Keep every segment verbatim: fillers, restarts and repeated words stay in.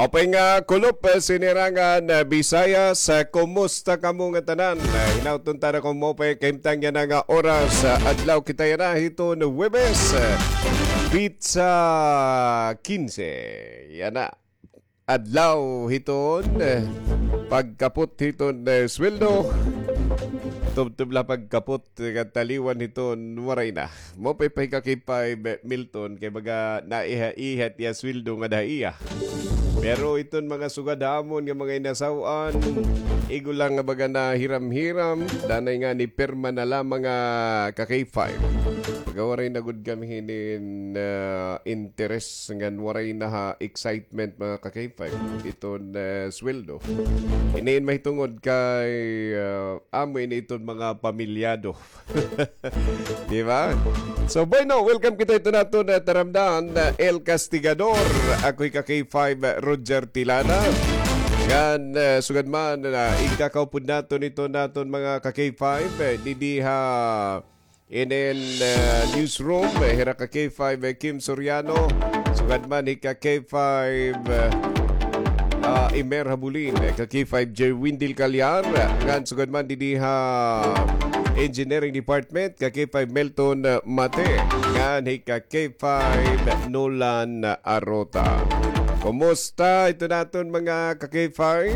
Maupay nga kulop, eh, sinirangan, eh, Bisayas, eh, kumusta kamo nga tanan? Eh, hinaut unta nakon maupay kahimtang yana nga oras, eh, adlaw kita yana hiton Huwebes, eh, petsa kinse. Yana. Adlaw hiton, eh, pagkapot hiton, eh, sweldo. Tubtob la pagkapot, eh, kataliwan hiton waray na. Maupay pa hi ka K five, eh, Milton, kay baga naiha-iha it iya sweldo ngada ha iya. Pero iton mga sugad ha amon nga mga inasaw-an, igo la nga baga nahiram-hiram, danay ngani pirma na lamang nga ka K five. Baga waray na gud kami hinin, ah, interes ngan waray na ha excitement, mga ka K five, iton, ah, sweldo. Hinin mahitungod kay, ah, amo ini iton mga pamilyado. Di ba? So, bueno, welcome kita hiton aton, ah, taramdan, ah, El Castigador. Ako hi ka K five, ah, Roger Tilana. Ngan, ah, sugad man, ah, igkakaupod naton iton aton mga ka K five, eh, didi ha inin, ah, newsroom, eh, hira ka K five, eh, Kim Soriano. Sugad man hi ka K five, eh, ah, Imer Habulin, eh, ka K five J Windel Calyar, eh, ngan sugad man didi ha Engineering Department, ka K five Melton, eh, Mate, ngan hi ka K five Nolan Arota. Kumusta iton aton mga ka K five?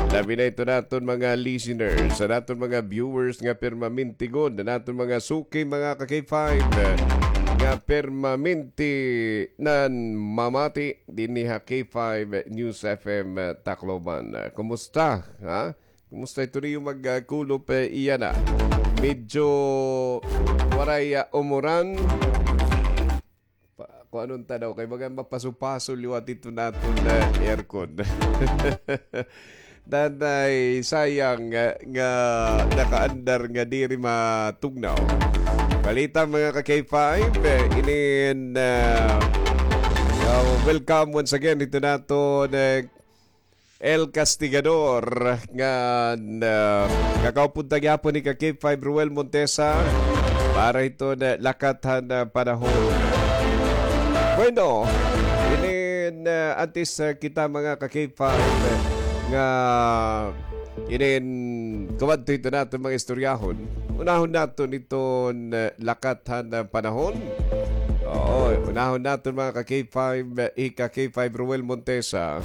Labi na iton aton mga listeners, an aton mga viewers nga permanente gud, an aton mga suki, mga ka K five, nga permanente nanmamati dinhi ha K five News F M Tacloban. Kumusta, ha? Kumusta iton iyo magkulop, eh, yana? Medyo waray, ah, umuran. Pa, kuan unta daw, kay baga mapaso-paso liwat iton aton, eh, aircon. Danay sayang, eh, nga nakaandar nga diri matugnaw. Balita, mga ka K five, eh, inin, eh, uh, welcome once again iton aton, eh, El Castigador, ngan, ah, kakaupod ta gihapon ni ka K five Ruel Montesa para hiton, ah, lakat han, ah, panahon. Bueno, inin, ah, antes, ah, kita mga ka K five, eh, nga inin kumadto hiton aton mga istoryahon, unahon naton iton, ah, lakat han, ah, panahon. Oo, unahon naton mga ka K five, eh, hi ka K five Ruel Montesa.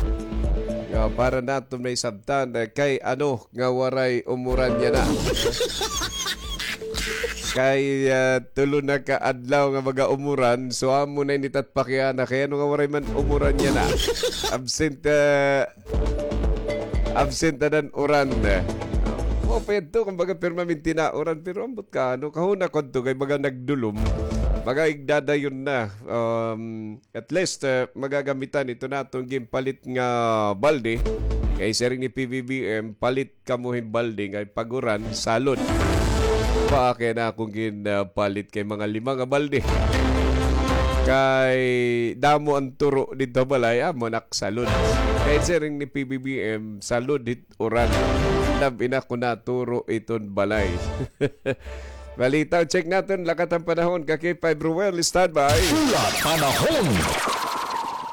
Nga para naton maisabtan, eh, kay ano nga waray umuran yana. Kay, ah, tulo na ka adlaw nga mag-aumuran, so amo na ini it at pakiana, kay ano nga waray man umuran yana. Absent, ah, Absent na an uran. Mao pa yadto, kumbaga, permanente na uran. Pero ambot ka, ano, kahuna ko adto kay baga nagdulom. Baga igdadayon na. Um, at least, eh, magagamitan ito na atong ginpalit nga balde. Kay siring ni P B B M, palit kamo hin balde. Kay pag uran, salod. Pa, kay na akong gin, ah, palit kay mga lima nga balde. Kay damo an turo didto ha balay, amo naksalod. Kay siring ni P B B M, salod hit uran. Labi na kon naturo iton balay. Balita, check naton, lakat han panahon, ka K five Ruel, standby. Pula panahon.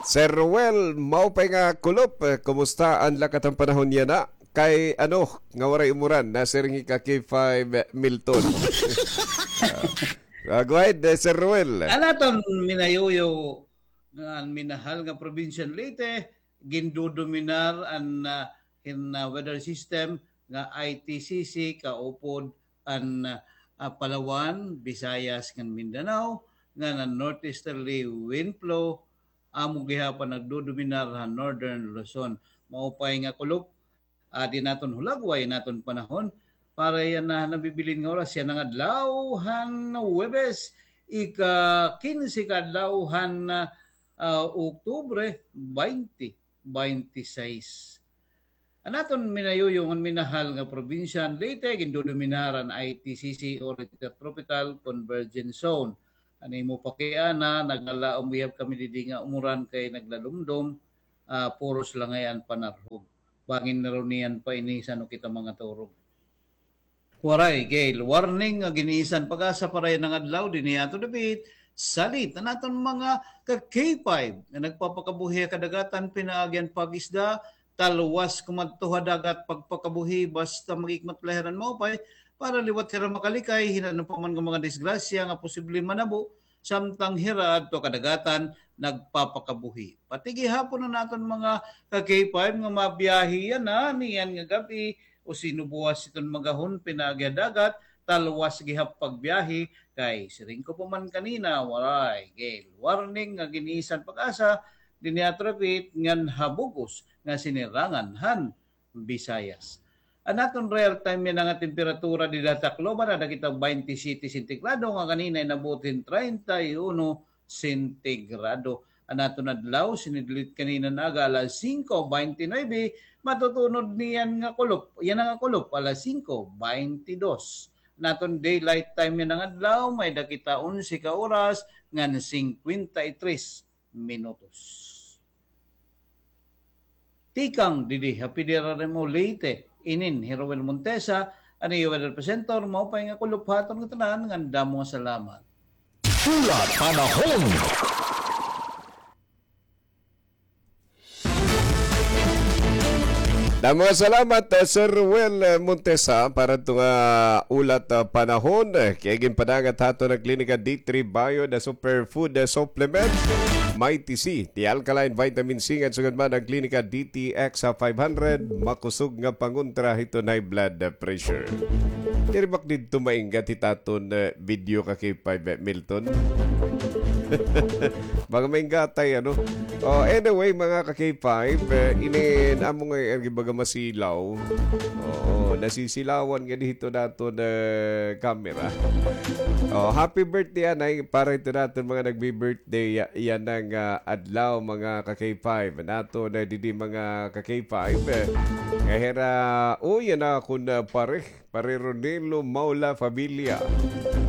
Sir Ruel, maupay nga kulop, eh, kumusta an lakat han panahon yana? Kay ano, nga waray umuran, nasiring hi ka K five Milton. Ah, go ahead, eh, Sir Ruel. An aton minayuyo nga minahal nga probinsya han Leyte, gindodominar an, ah, hin, ah, weather system nga I T C C, kaupod an, ah, Palawan, Visayas, ngan Mindanao, ngan an northeasterly wind flow, amo gihapon nagdodominar han Northern Luzon. Maupay nga kulop, adi naton hulagway an aton panahon. Para yana nabibilin nga oras, yana nga adlaw han Huwebes, ika-kinse ka adlaw han, ah, Oktubre, baynte baynte sais. An aton minayuyo ngan minahal nga probinsya han Leyte, gindodominar han I T C C or Intertropical Convergence Zone. An imo pakiana, naglalaom gihap kami didi nga umuran kay naglalumdom, ah, puros la ngay-an panarhog. Bangin narunian pa ini san-o kita mangaturog. Waray, gale warning nga gin-iisan PAGASA para yana nga adlaw dinhi ha aton dapit, salit. An aton mga ka-K five nga nagpapakabuhi ha kadagatan, pinaagi han pag-isda, talwas kumadto ha dagat pagpakabuhi, basta mag-ikmat la hira hin maupay, para liwat hira makalikay hin ano pa man nga mga disgrasya nga posible manabo, samtang hira adto kadagatan nagpapakabuhi. Pati gihapon an aton mga ka-K five nga mabiyahe yana niyan nga gab-i, o sino buwas iton magahon pinaagi ha dagat, talwas gihap pagbiyahe, kay siring ko pa man kanina, waray gale warning nga gin-isan PAGASA dinhi ha Traffic ngan ha bug-os nga sinirangan han Visayas. An aton real time yana nga temperatura dida ha Tacloban, ada kita baynte siyete sentigrado, nga kanina inabot hin treinta y uno sentigrado. An aton adlaw, sinidelit kanina nga aga alas singko baynte nuwebe, matutunod niyan nga kulop, yana nga kulop, alas singko baynte dos. An aton daylight time yana nga adlaw, may-ada kita onse ka oras ngan singkwenta y tres minutos. Tikang didi ha P D R R M O Leyte, inin hi Roel Montesa, an iyo weather presenter, maupay nga kulop ha aton ngatanan, ngan damo nga salamat. Hulat panahon. Damo nga salamat, uh, Sir Roel, uh, Montesa, para hito nga hulat, uh, panahon. Uh, kay ginpadangat ha aton han Klinika D three Bio, the superfood, uh, supplement, Mighty C, the alkaline vitamin C, ngan sugad man an Klinika D T X, uh, five hundred, makusog nga pangontra hiton high blood, uh, pressure. Diri ba didto mainggat hit aton, uh, video ka K five, uh, Milton? Mga mainggatay, ano? Oh, anyway, mga ka K five, eh, inin amo nga, eh, baga masilaw. Oo, nasisilawan nga dito nato na camera. Oh, happy birthday, anay, para ito naton mga nagbi-birthday, ya-, yana nga adlaw, mga ka K five. Nato na didi mga ka K five, eh. Kay hira, oh, yana akon, ah, pare. Pare Ronilo Maula Familia,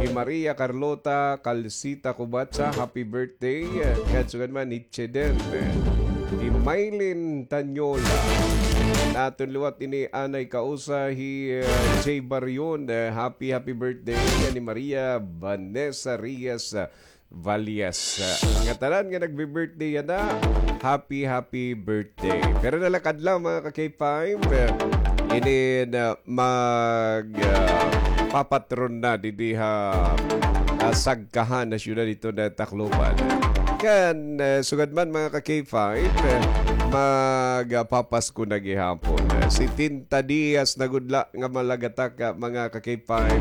hi Maria Carlota Calcita Cubatsa, happy birthday. Ngan sugad man hi Cheden, hi Maylin Tanyola. Naton liwat ini anay kausa hi, eh, Jay Barion, eh, happy, happy birthday. Ngan hi Maria Vanessa Reyes, eh, Valias. Ah, ngatanan nga nagbi-birthday yana, happy, happy birthday. Pero na la kadlaw, mga ka K five, eh, inin, ah, mag, ah, papatron na didi ha, ah, sagkahan na syudad ito na Tacloban. Kan, eh, sugad man, mga ka K five, eh, mag, ah, papasko na gihapon. Eh, setenta dias na gud la nga malagatak, ah, mga ka K five,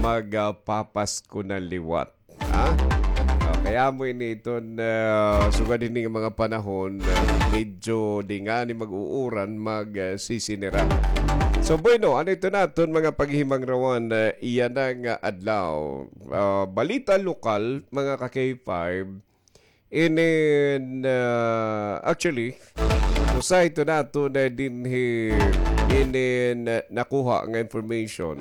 mag, ah, papasko na liwat. Ha? Ah, kay amo ini iton, ah, sugad hini nga mga panahon, ah, medyo di ngani mag-uuran, mag, ah, sisinira. So, bueno, ano ito naton mga paghihimangrawan, ah, yana nga adlaw? Ah, balita lokal, mga ka K five, inin, ah, actually, usa ito naton dinhi inin, ah, nakuha nga information.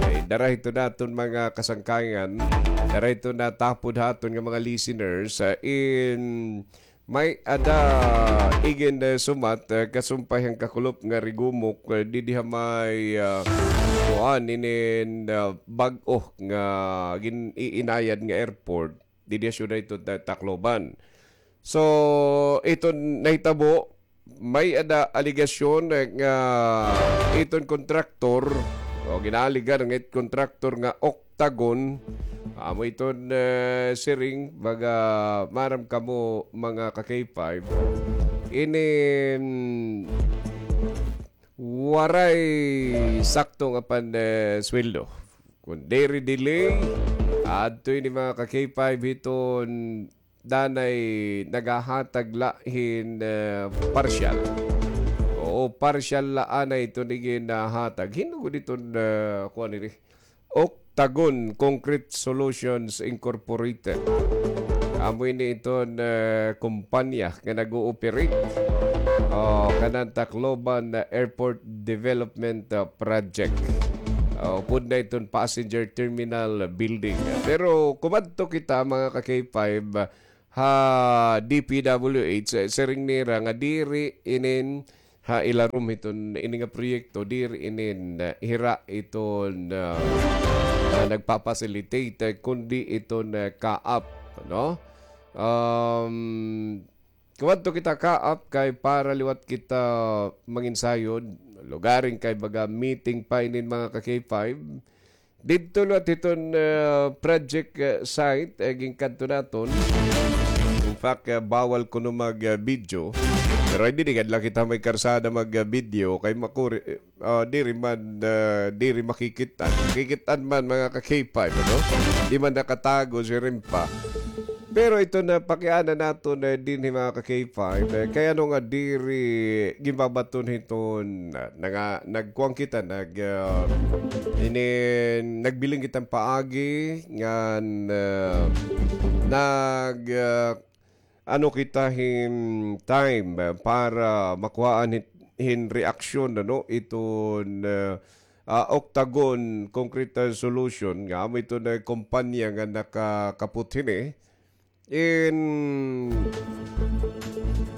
Ay, dara ito naton mga kasangkayan, dara ito natapod ha aton nga mga listeners, ah, in may-ada igin, ah, sumat, ah, kasumpay han kakulop nga rigumok, ah, didi ha may, ah, kuan inin, ah, bag-o nga gin-iinayad nga airport. Didi ha syudad ito Ta-, Tacloban. So, iton nahitabo, may-ada alegasyon nga iton kontraktor, o ginaaligar nga it kontraktor nga Octagon, amo iton, eh, siring, baga maaram kamo mga ka K five, inin waray sakto nga pan, eh, sweldo. Kun diri delay, adto ini mga ka K five hiton danay naghahatag la hin, eh, partial. Oo, partial la anay iton igin, ah, hatag. Hin-o gud iton, eh, kuan ini? Octagon Concrete Solutions Incorporated. Amo ini iton, eh, kumpanya nga nag-ooperate, oh, kanan Tacloban, eh, Airport Development, eh, Project. Oh, upod na iton passenger terminal building. Pero kumadto kita, mga ka K five, ha D P W H, eh, siring nira nga diri inin ha ilarom hiton ini nga proyekto, diri inin, eh, hira iton, ah, ah, nagpa-facilitate, eh, kundi iton, eh, CAAP. no? Um, kumadto kita kaap kay para liwat kita manginsayod, lugaring kay baga meeting pa inin mga ka-K five. Didto liwat hiton, ah, project, ah, site, eh, ginkadto naton. In fact, ah, bawal kuno mag, ah, video. Pero ay diri gad la kita may karsada mag, ah, video kay makuri, ah, diri man, ah, diri makikit-an. Makikit-an man mga ka-K five, ano? Di man nakatago si Rimpa. Pero ito na pakiana naton, eh, dinhi mga ka-K five, eh, kay ano nga diri ginbabaton hiton, ah, nanga-, nagkuan kita, nag, ah, ini, nagbiling kitang paagi ngan, ah, nag, ah, ano kita hin time, eh, para makuhaan hin, hin reaksyon, ano, iton, eh, ah, Octagon Concrete, eh, Solution, nga amo iton, eh, kompanya nga nakakapot hini. In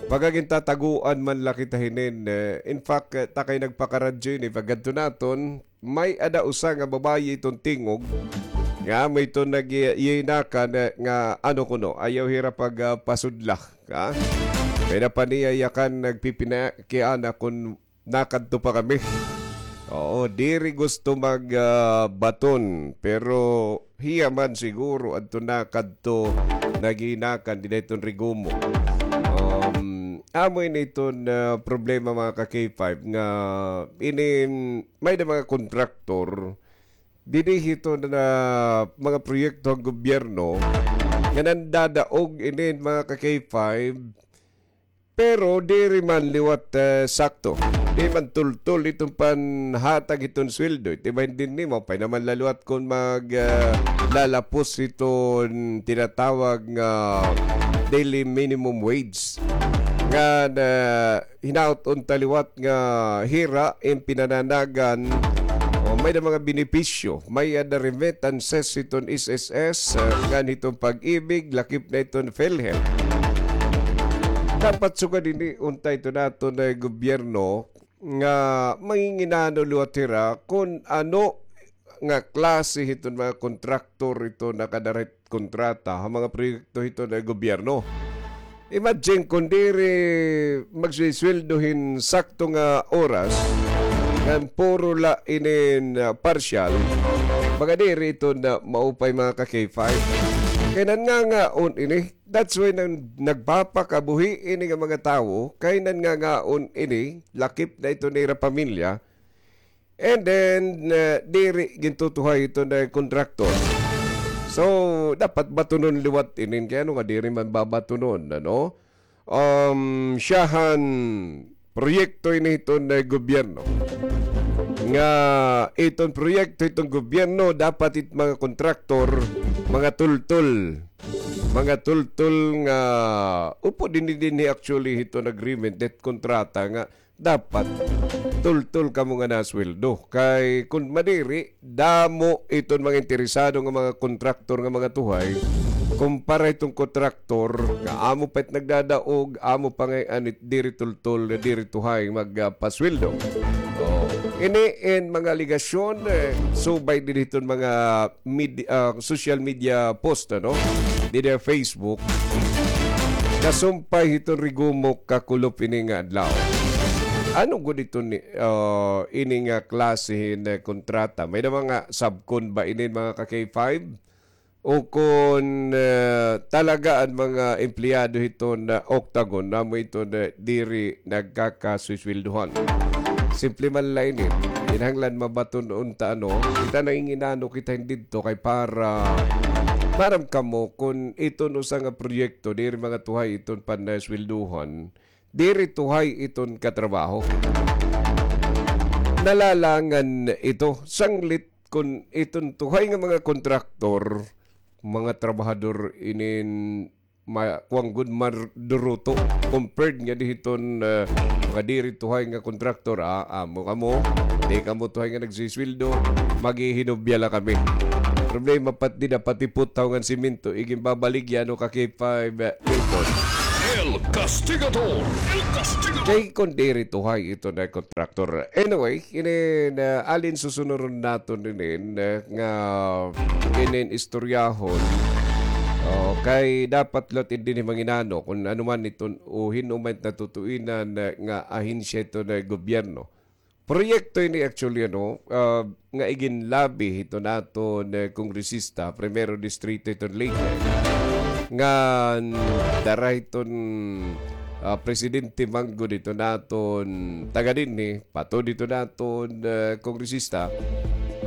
pagagintataguan man la kita hinin, eh, in fact, eh, ta kay nagpakaradyo ini, pagkadto naton, may-ada usa nga babayi iton tingog, nga amo iton nag-iinakan, eh, nga ano kuno, ayaw hira pag, ah, pasudla, ha? Kay napaniyayakan, nagpipinakiana kun nakadto pa kami. Oo, diri gusto mag, ah, baton, pero hiya man siguro adto nakadto naginakan dinhi iton Rígomoc. Um, amo ini iton, ah, problema, mga ka-K five, nga ini may-ada mga kontraktor dinhi hiton mga proyekto han gobyerno nga nandadaog ini, mga ka-K five, pero diri man liwat, eh, sakto. Di man tultol iton panhatag hiton sweldo. Iti ba hindi nimo, pay naman la liwat kun mag, eh, lalapos iton tinatawag nga daily minimum wage. Nga na hinaot unta liwat nga hira in pinananagan o may-ada mga benepisyo, may-ada remittances hiton S S S, eh, ngan hiton Pag-ibig, lakip na iton PhilHealth. Dapat sugad ini unta iton aton, eh, gobyerno nga manginginano liwat hira kun ano nga klase hiton mga kontraktor iton nakadara hit kontrata ha mga proyekto hiton gobyerno. Imagine kun diri magsisweldo hin sakto nga oras, ngan puro la inin, ah, partial, baga diri iton maupay, mga ka-K five. Kay nangangahon ini, that's why nang nagpapakabuhi ini nga mga tawo, kay nangangahon ini, lakip na iton ira pamilya, and then, uh, diri gintutuhay iton kontraktor. So, dapat batunon liwat inin. Kay ano nga diri man babatunon, ano? Um, siyahan proyekto ini hiton gobyerno. Nga iton proyekto hiton gobyerno, dapat it mga kontraktor, mga tultol. Mga tultol nga, upo dinhi, dinhi actually hiton agreement, det kontrata nga dapat tultol kamo nga nasweldo. Kay kun madiri, damo iton mga interesado nga mga kontraktor nga mga tuhay, kumpara hiton kontraktor nga amo pa it nagdadaog, amo pa ngay-an it diri tultol, diri tuhay magpasweldo. Oh. Ini in mga alegasyon, eh, subay dinhi hiton mga medi-, ah, social media post, ano? Dida Facebook. Kasumpay hiton Rígomoc kakulop ini nga adlaw. Ano gud ito ni, ah, ini nga klase hin, eh, kontrata? May-ada mga subcon ba ini, mga ka-K five? O kon, eh, talaga an mga empleyado hiton Octagon, amo iton diri nagkakaswisweldohan. Simple man la ini. Kinahanglan mabaton unta, ano, kita nanginginano kita hin didto kay para maaram kamo kun iton usa nga proyekto diri mga tuhay iton pansweldohan, diri tuhay iton katrabaho. Nalalangan ito, sanglit kun iton tuhay nga mga kontraktor, mga trabahador inin ma-, kuan gud, maduruto compared nga dinhi hiton, eh, mga diri tuhay nga kontraktor, ah, amo kamo, di kamo tuhay nga nagsisweldo, maghihinubya la kami. Problema pa it dida, pati puthaw ngan semento, iginbabaligya, ano, ka-K five, eh, Milton. El Castigador. El Castigador. Kay kun diri tuhay iton kontraktor. Anyway, inin, ah, alin susunuron naton inin, ah, nga inin istoryahon. Oo, kay dapat liwat indi ni manginano kung ano man iton o hin-o man natutuinan, eh, nga ahensya iton gobyerno. Proyekto ini actually, ano, ah, nga iginlabi hiton aton, eh, kongresista, primero distrito hiton Leyte. Ngan dara hiton, ah, presidente manggod hiton aton taga dinhi, pato dito naton, eh, kongresista.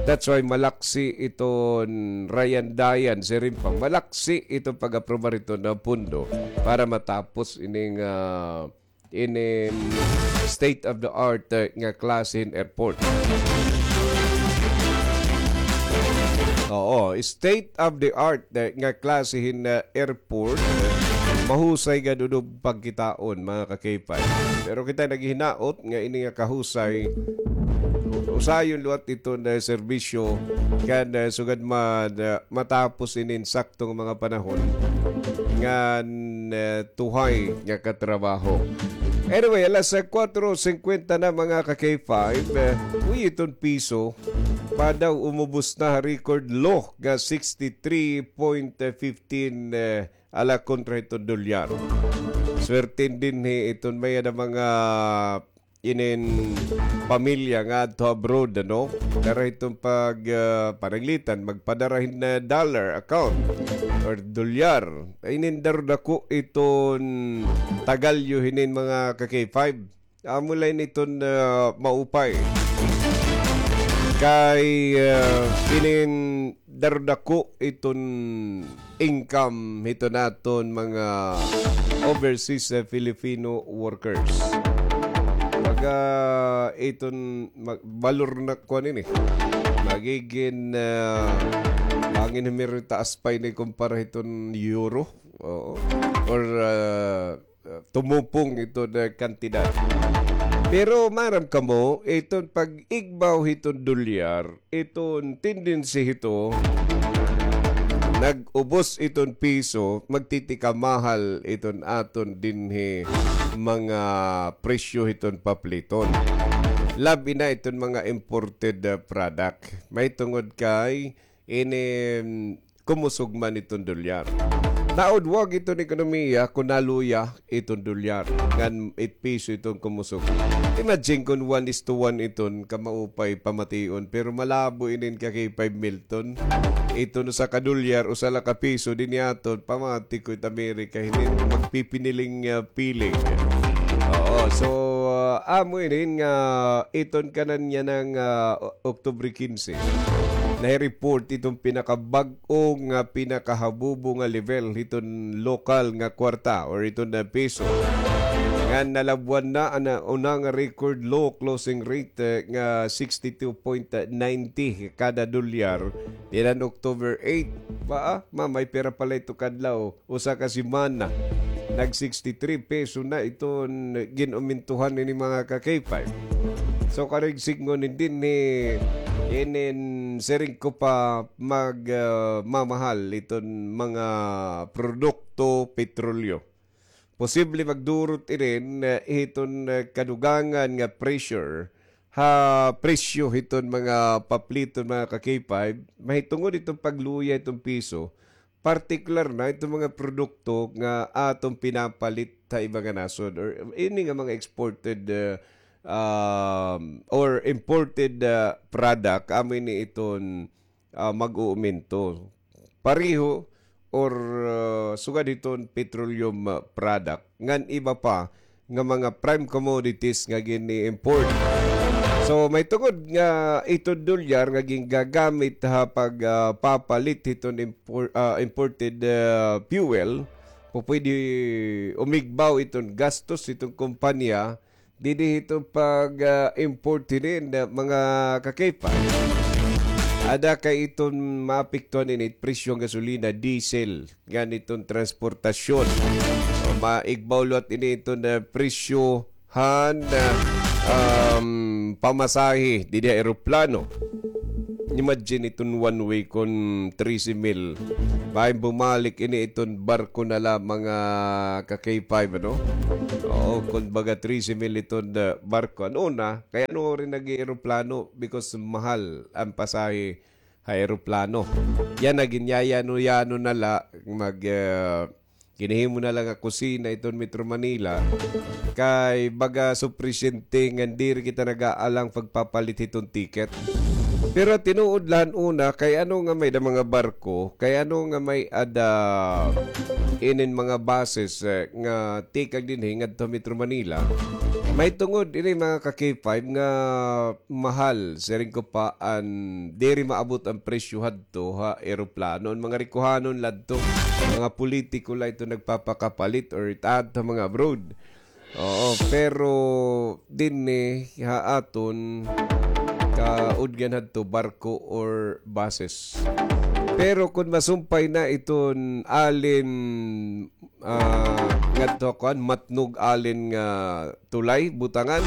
That's why malaksi iton Ryan Dayan, siring pa, malaksi iton pag-aprobar iton, ah, pundo para matapos ining, ah, inin state of the art, eh, nga klase hin airport. Oo, state of the art, eh, nga klase hin, eh, airport, eh, mahusay gad udob pagkitaon, mga ka-K five. Pero kita naghihinaot nga ini nga kahusay, usayon liwat iton serbisyo kan, eh, sugad man, eh, matapos inin sakto nga mga panahon ngan, eh, tuhay nga katrabaho. Anyway, alas, eh, kuwatro singkwenta na, mga ka-K five, eh, uy, iton piso pa daw umubos na ha record low nga sixty-three point fifteen, eh, ala kontra hiton dolyar. Swerte dinhi iton may-ada mga inin pamilya nga adto abroad, ano? Dara hiton pag, ah, pananglitan, magpadara hin, ah, dollar account or dolyar. Inin darudako iton tagalyo hinin mga ka-K five. Amo la ini iton, ah, maupay. Kay, ah, inin darudako iton income hiton aton mga overseas, ah, Filipino workers. Baga iton ma-, balor na kuan ini. Magigin, ah, bangin himiri taas pa ini kumpara hiton euro. Oo. Or, ah, uh, tumupong iton kantidad. Pero maaram kamo, iton pag-igbaw hiton dolyar, iton tendency hito, nag-ubos iton piso, magtitikamahal iton aton dinhi mga presyo hiton papliton. Labi na iton mga imported, uh, product. Mahitungod kay ini, mm, kumusog man iton dolyar. Naudwag iton ekonomiya kon naluya iton dolyar ngan it piso iton kumusog. Imagine kon one is to one iton kamaupay pamation, pero malabo inin ka-K five Milton. Iton usa ka dolyar, usa la ka piso dinhi aton, pamati ko it Amerika hinin magpipiniling, ah, piling. Oo, so, ah, amo inin nga iton kanan niya nga, ah, Oktubre kinse. Nahi-report iton pinakabag-o nga pinakahabubo nga level hiton lokal nga kwarta or iton, ah, piso. Nga nalabwan na an, ah, una nga record low closing rate, eh, nga sixty-two point ninety kada dolyar. Dinan October eight. Ba, ah, ma, may pira pala ito kadlaw. Usa ka semana, nag sixty-three peso na iton gin-umintuhan ini mga ka-K five. So, karig sidngon dinhi, inin siring ko pa mag, ah, mamahal iton mga produkto petrolyo. Posible magdurot inin, ah, iton, ah, kadugangan nga pressure ha presyo hiton mga papliton, mga ka-K five, mahitungod iton pagluya iton piso, partikular na iton mga produkto nga aton pinapalit ha iba nga nasod or ini nga mga exported, uh, um, or imported, uh, product, amo ini iton, uh, mag-uuminto. Pareho or, uh, sugad hiton petroleum, uh, product ngan iba pa nga mga prime commodities nga gin-i-import. So, mahitungod nga iton dolyar nga gingagamit ha pag, ah, papalit hiton impor-, ah, imported, ah, fuel, pupwede umigbaw iton gastos hiton kompanya didi hiton pag, ah, import hinin, ah, mga ka-K five. Ada kay iton maapektuhan ini presyo han gasolina, diesel, ngan iton transportasyon. So, maigbaw liwat ini iton, ah, presyo han, ah, um, pamasahe didi ha eroplano. Imagine iton one way kon trese mil. Maayo bumalik ini iton barko na la mga ka-K five, ano? Oo, kon baga trese mil iton, ah, barko. Ano na? Kay ano rin nag-eroplano? Because mahal an pasahe ha eroplano. Yana, ginyayano-yano na la, mag, ah, ginhihimo na la nga kusina iton Metro Manila. Kay baga supisyente ngan diri kita nag-aalang pagpapalit hiton ticket. Pero tinuod la han una, kay ano nga may-ada mga barko, kay ano nga may-ada inin mga buses, eh, nga tikang dinhi ngadto ha Metro Manila. Mahitungod ini, mga ka-K five, nga mahal, siring ko pa, an diri maabot an presyo hadto ha eroplano. An mga rikuhanon la adto, mga politiko la ito nagpapakapalit or it-adto ha mga abroad. Oo, pero dinhi ha aton, kaudgan hadto barko or buses. Pero kon masumpay na iton alin, ah, ngadto kuan, matnog alin nga tulay, butangan,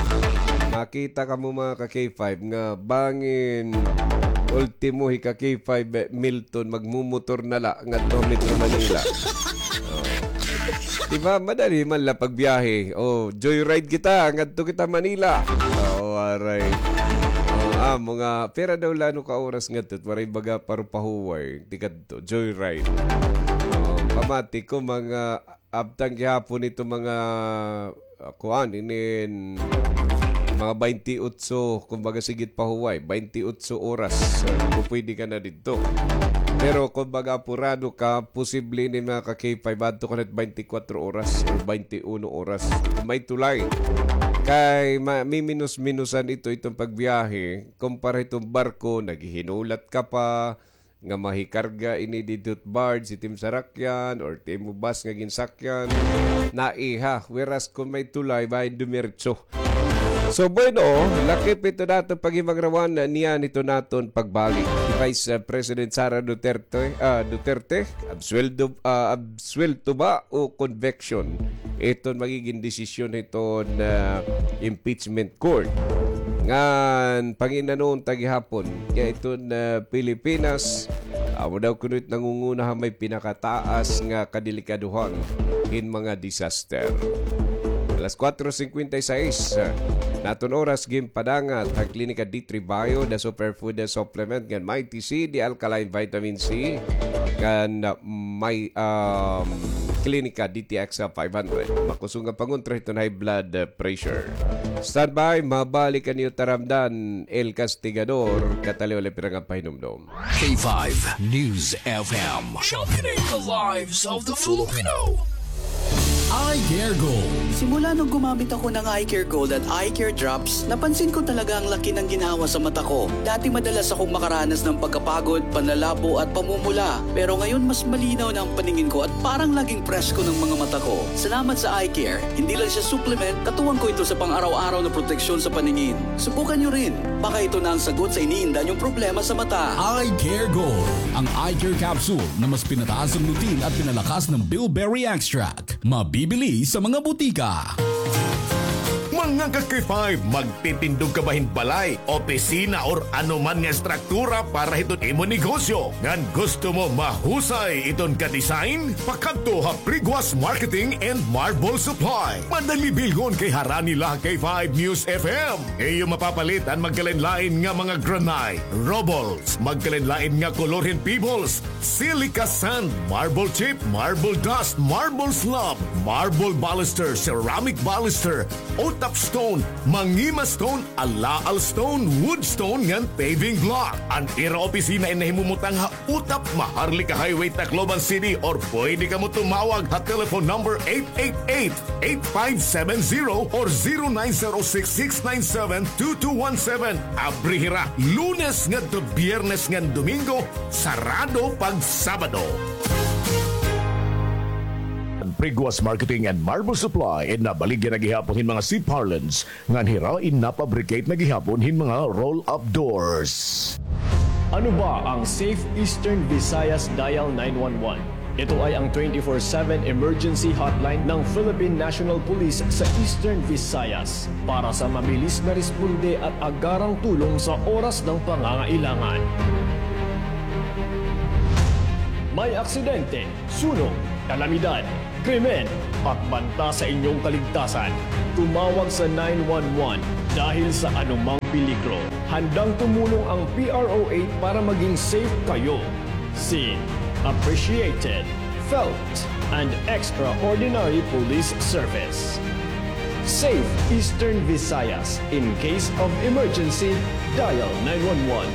makita kamo, mga ka-K five, nga bangin ultimo hi ka-K five, eh, Milton, magmumotor na la ngadto Metro Manila. Oh. Di ba, madali man la pagbiyahe. Oh, joyride kita, ngadto kita Manila. Oh, aray. Oh, ah, mga pera daw la ano ka oras ngadto, waray baga parupahuway, tikadto, joyride. Oh, pamati ko, mga abtan gihapon ito, mga, ah, kuan, inin, mga baynte otso, kumbaga, sigit pa huway, baynte otso oras. So, pupwede ka na didto. Pero, kumbaga, apurado ka, posible ini, mga ka-K five, adto ka na baynte kwatro oras or baynte uno oras. May tulay. Kay, ma-, miminos-minusan ito, itong pagbiyahe, kumpara itong barko, naghihinulat ka pa, nga mahikarga ini didto barge, it im sarakyan, or it imo bus nga ginsakyan, naiha. Whereas kon may tulay, bahin dumiretso. So, bueno, lakip ito naton paghimangrawan niyan ito naton pagbalik. Hi Vice, ah, President Sara Duterte, ah, Duterte, absueldo, ah, absuelto ba o conviction? Iton magigin desisyon hiton, ah, impeachment court. Ngan, panginanon ta gihapon nga iton, ah, Pilipinas, amo daw kuno it nangunguna ha may pinakataas nga kadelikadohan hin mga disaster. Alas kuwatro singkwenta y seis, ah, naton oras, ginpadangat han Klinika D three Bio, the superfood supplement ngan Mighty C, the alkaline vitamin C, ngan, ah, may, um, Klinika D T X five hundred. Makusog nga pangontra hiton high blood, ah, pressure. Standby, mabalik an iyo taramdan, El Castigador, kataliw la pira nga pahinumdom. K five News F M. Championing the lives of the Filipino. Eye Care Gold. Simula nung gumamit ako ng Eye Care Gold at Eye Care Drops, napansin ko talaga ang laki ng ginhawa sa mata ko. Dati madalas akong makaranas ng pagkapagod, panlalabo at pamumula. Pero ngayon mas malinaw na ang paningin ko at parang laging presko ng mga mata ko. Salamat sa Eye Care. Hindi lang siya supplement, katuwang ko ito sa pang-araw-araw na proteksyon sa paningin. Subukan niyo rin. Baka ito na ang sagot sa iniinda niyong problema sa mata. Eye Care Gold, ang eye care capsule na mas pinataas ang lutein at pinalakas ng bilberry extract. Mabibili sa mga butika. Mga ka-K five, magtitindog ka ba hin balay, opisina, or ano man nga estruktura para hiton imo negosyo? Ngan gusto mo mahusay iton ka-design? Pakadto ha Priguas Marketing and Marble Supply. Madali bilhon kay harani la ha K five News F M. Iyo mapapalit an magkalain-lain nga mga granite, rubbles, magkalain-lain nga kolor hin pebbles, silica sand, marble chip, marble dust, marble slab, marble baluster, ceramic baluster, utap stone, mangima stone, alaal stone, wood stone, ngan paving block. An ira opisina in nahimumutang ha Utap, Maharlika Highway, Tacloban City, or pwede kamo tumawag ha telephone number eight eight eight, eight five seven zero or zero nine zero six, six nine seven, two two one seven. Abri hira Lunes ngadto Biyernes ngan Domingo, sarado pag Sabado. Priguas Marketing and Marble Supply in nabaligya na gihapon hin mga C-parlance ngan hira in napabricate na gihapon hin mga roll-up doors. Ano ba ang Safe Eastern Visayas Dial nine one one? Ito ay ang twenty-four seven emergency hotline ng Philippine National Police sa Eastern Visayas para sa mabilis na responde at agarang tulong sa oras ng pangangailangan. May aksidente, sunog, kalamidad, krimen at banta sa inyong kaligtasan. Tumawag sa nine one one dahil sa anumang peligro. Handang tumulong ang P R O eight para maging safe kayo. Seen, appreciated, felt, and extraordinary police service. Save Eastern Visayas. In case of emergency, dial nine one one.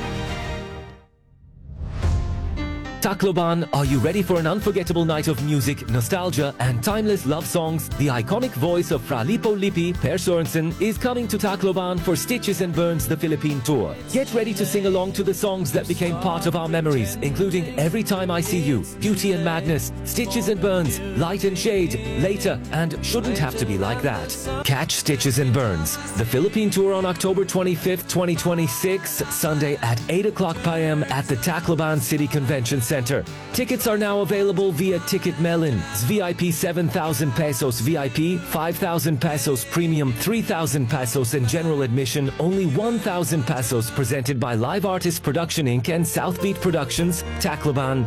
Tacloban, are you ready for an unforgettable night of music, nostalgia, and timeless love songs? The iconic voice of Fra Lippo Lippi, Per Sorensen, is coming to Tacloban for Stitches and Burns, the Philippine tour. Get ready to sing along to the songs that became part of our memories, including Every Time I See You, Beauty and Madness, Stitches and Burns, Light and Shade, Later, and Shouldn't Have to Be Like That. Catch Stitches and Burns, the Philippine tour, on October twenty-fifth, twenty twenty-six, Sunday at eight o'clock p.m. at the Tacloban City Convention Center. Tickets are now available via Ticket Melon. V I P seven thousand pesos, V I P five thousand pesos, Premium three thousand pesos, and general admission only one thousand pesos. Presented by Live Artist Production Inc and South Beat Productions, Tacloban,